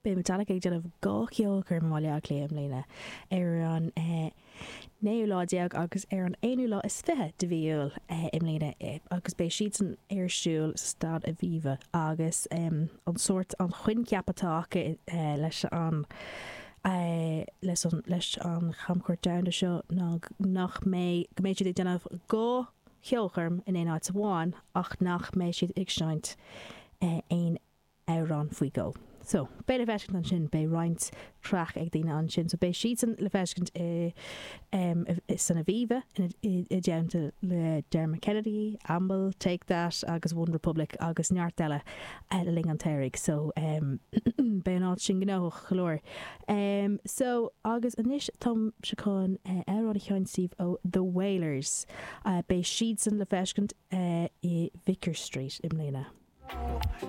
Beidh Metallica ag déanamh 2 cheolchoirm i mBaile Átha Cliath i mbliana, ar an naoú lá déag agus ar an aonú lá is 20 de mhí Iúil i mbliana agus beidh siadsan ar siúl sa Staid Aviva agus an sórt, an coincheap atá acu leis an leis an leis an chamchuairt domhanda seo ná nach mbeidh, go mbeidh siad ag déanamh 2 cheolchoirm in aon áit amháin ach nach mbeidh siad ag seinnt aon amhrán faoi dhó. So, beidh le feiscint ansin, beidh roinnt craic ag daoine ansin. So beidh siadsan le feiscint i san Aviva i dteannta le Dermot Kennedy, Amble, Take That agus One Republic agus neart eile le linn an tsamhraidh. So, beidh an áit sin gnóthach go leor. So, agus anois táimse chun amhrán a sheinnt daoibh ó The Wailers. Beidh siadsan le feiscint i Vicar Street i mbliana.